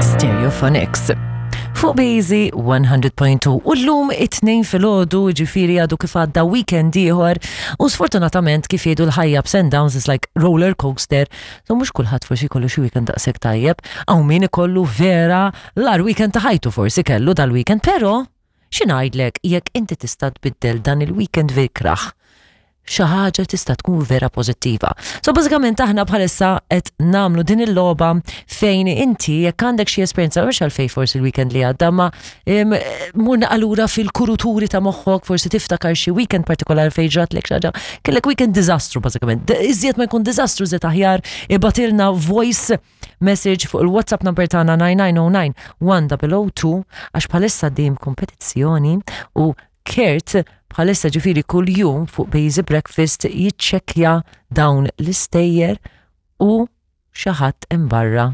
Stereophonics. Fuq Bejzi 100.2 u llum it-tnejn filgħodu ġifieri għadu kif għadda weekend ieħor u sfortunatament kif jgħidu l-ħajja ups and downs is like roller coaster so mhux kulħadd forsi jkollu xi weekend daqshekk tajjeb hawn min ikollu vera l-ar weekend ta' ħajtu forsi kellu dal-weekend però Xi ngħidlek, jekk inti tista' tbiddel dan il-weekend vikraħ, xi ħaġa tista' tkun vera pożittiva. So bażikament aħna bħalissa qed nagħmlu din il-logħba fejn inti jekk għandek xi esperjenza mhux għalfejn forsi l-weekend li għadda ma mur naqalura fil-kuruturi ta' moħħok forsi tiftakar xi weekend partikolari fejn ġratlek xi ħaġa. Kellek weekend diżastru bażikament. Iżjed ma jkun diżastru iżjed aħjar ibatilna voice message fuq il-WhatsApp number tagħna 9909 1002 għax bħalissa dim kompetizzjoni u Kurt bħalissa ġifiri kull jum fuq Bazy Breakfast jiċċekkja dawn l-istejjer u xi ħadd hemm barra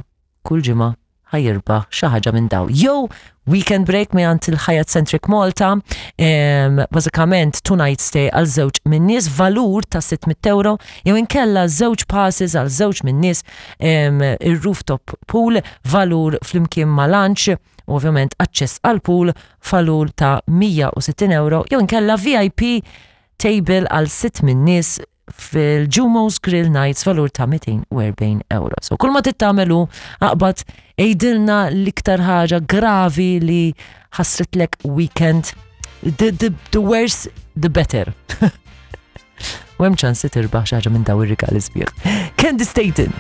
kull ġimgħa ħajirbaħ xi ħaġa minn daw. Jew weekend break mingħand il-Hyatt Centric Malta, bażikament two night stay għal żewġ minn nies valur ta' 600 euro, jew inkella żewġ passes għal żewġ minn nies ir-rooftop pool valur flimkien ma' lunch u ovvjament aċċess għal pool valur ta' 160 euro, jew inkella VIP table għal sitt minn nies fil-Jumo's Grill Nights valur ta' 240 euro. So kull ma tittamelu aqbad ejdilna l-iktar ħaġa gravi li ħassritlek weekend. The, the, the worse, the better. U hemm ċans li tirbaħ xi ħaġa minn daw ir-rigali sbieħ. Candy Staten.